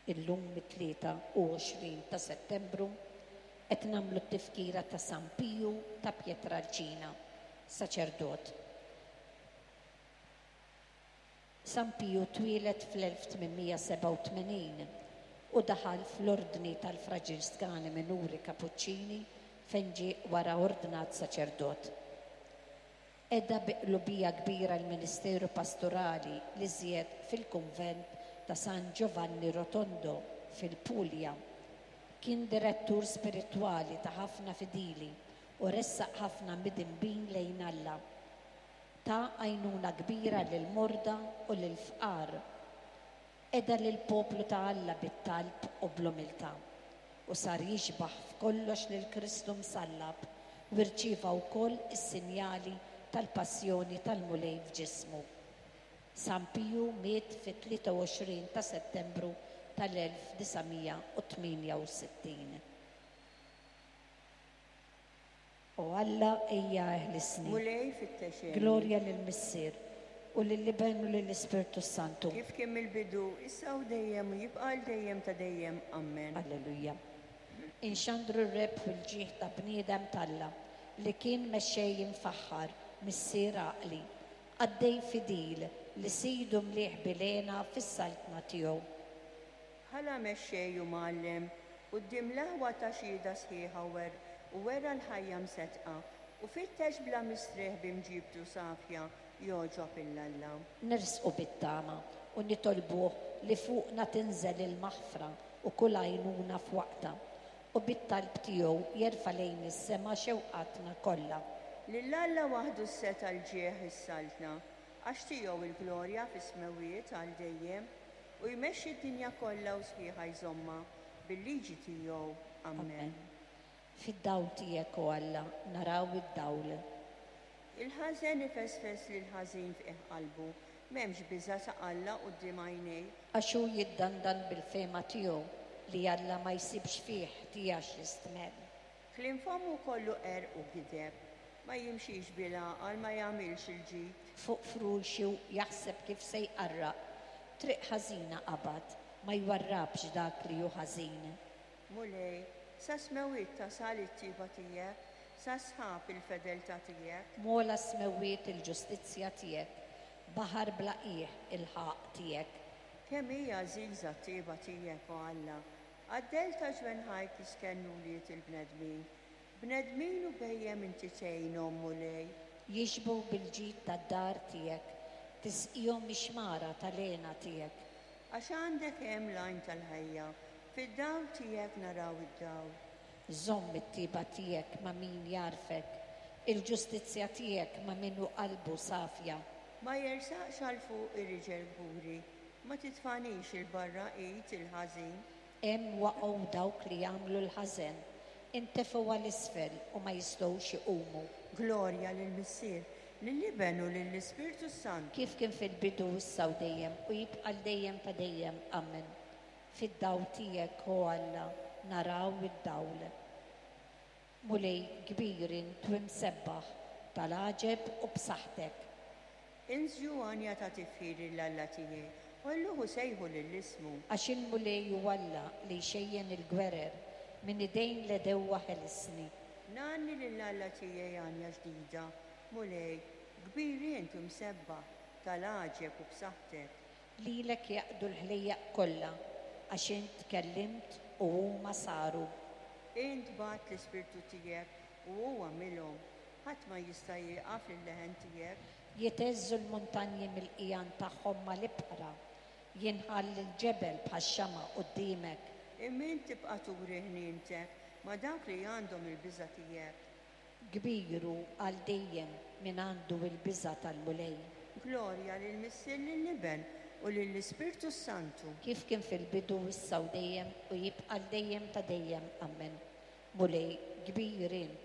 Illum it-23 ta' Settembru qed nagħmlu t-tifkira ta' San Piju ta' Pietralcina, saċerdot. San Piju twieled fl-1887 u daħal fl-Ordni tal-Fraġiskani Minuri Kapuċċini fejn ġie wara ordnat saċerdot. Qeda bi qlubija kbira l-ministeru pastorali l-iżjed fil-kunvent ta' San Giovanni Rotondo fil-Puglia. Kien direttur spiritwali ta' ħafna fidili u ressaq ħafna midinbin lejn Alla. Ta għajnuna kbira lill-morda u lill-fqar. Qeda lill-poplu ta' Alla bit-talb u bl-umiltà, u sar jixbah f'kollox lil Kristu msallab u rċieva wkoll is-sinjali tal-passjoni tal-Mulej f'ġismu. San Piju miet fit-23 ta' Settembru tal-1968. O Alla, ejja eħlisni. Mulej, fittex għeni. Glorja lill-Missier, u lill-Iben u lill-Ispirtu s-Santu. Kif kien mill-bidu, issa u dejjem, u jibqa' għal dejjem ta' dejjem. Ammen. Alleluja. Inxandru r-rebħ u l-ġieħ ta' bniedem t'Alla, li kien mexxej imfaħħar, missier għaqli, qaddej fidil li Sidu mlieh bil-hena fis-saltna tiegħu. Bħala mexxej u mgħallem, quddiem l-aħwa ta xhieda sħiħa u u wera l-ħajja mseddqa, u fittex bla mistrieħ bi mġiebtu safja jogħġob 'il Alla. Nersqu bit-tama u nitolbuh li fuqna tinżel il-maħfra u kull għajnuna f'waqtha, u bit-talb tiegħu jerfa' lejn is-sema xewqatna kollha. Lil Alla waħdu s-setgħa l-ġieħ is-saltna, għax tiegħu l-glorja fis-smewwiet għal dejjem, u jmexxi d-dinja kollha u sħiħa jżommha bil-liġi tiegħu. Ammen. Ammen. Fid-dawl tiegħek, o Alla, naraw id-dawl. Il-ħażen ifesfes lill-ħażin f'qiegħ qalbu, m'hemmx biża' ta' Alla quddiem għajnejh. Għax hu jiddandan bil-fehma tiegħu li Alla ma jsibx fih ħtija x'jistmell. Kliem fommu kollu qerq u gideb, ma jimxix bil-għaqal, ma jagħmilx il-ġid. Fuq frulxu jaħseb kif se jqarraq, triq ħażina qabad, ma jwarrabx dak li hu ħażin. Mulej, sas-smewwiet tasal it-tjieba tiegħek, sas-sħab il-fedeltà tiegħek. M'ogħla s-smewwiet il-ġustizzja tiegħek, baħar bla qiegħ il-ħaqq tiegħek. Kemm hi għażiża t-tjieba tiegħek, o Alla! Għad-dell ta' ġwenħajk jistkennu wlied il-bnedmin. Bnedmin u bhejjem inti tgħinhom, Mulej. Jixbgħu bil-ġid tad-dar tiegħek, tisqihom mix-xmara tal-hena tiegħek. Għax għandek hemm l-għajn tal-ħajja, fid-dawl tiegħek naraw id-dawl. Żomm it-tjieba tiegħek ma' min jagħrfek, il-ġustizzja tiegħek ma' min hu qalbu safja. Ma jersaqx għal fuqi riġel kburi, ma titfagħnix 'il barra id il-ħażin. Hemm waqgħu dawk li jagħmlu l-ħażen, intefgħu għal isfel u ma jistgħux iqumu. Glorja lill-Missier, lill-Iben u lill-Ispirtu s-Santu. Kif kien fil-bidu, issa u dejjem, u jibqa' għal dejjem ta' dejjem. Ammen. Fid-dawl tiegħek, o Alla, naraw id-dawl. Mulej, kbir int u imsebbaħ, tal-għaġeb u b'saħħtek. Inżlu għanja ta' tifħir lil Alla tiegħi, għolluh u sejħu lil ismu. Għax il-Mulej hu Alla li jxejjen il-gwerer, minn idejn l-għedewwa ħelisni. Ngħanni lil Alla tiegħi għanja ġdida, Mulej, kbir int u msebbaħ, tal-għaġeb u b'saħħtek. Lilek jaqdu l-ħlejjaq kollha, għax int tkellimt u huma saru. Int bgħatt l-Ispirtu tiegħek u hu għamilhom, ħadd ma jista' jieqaf lil-leħen tiegħek. Jitheżżu l-muntanji mill-qigħan tagħhom mal-ibħra, jinħall il-ġebel bħax-xama' quddiemek. Imma int tibqa' turi ħnientek ma' dawk li għandhom il-biża' tiegħek. Kbir hu għal dejjem min għandu l-biża' tal-Mulej. Glorja lill-Missier lill-Iben u lill-Ispirtu s-Santu. Kif kien fil-bidu, issa u dejjem, u jibqa' għal dejjem ta' dejjem. Ammen. Mulej, kbir int.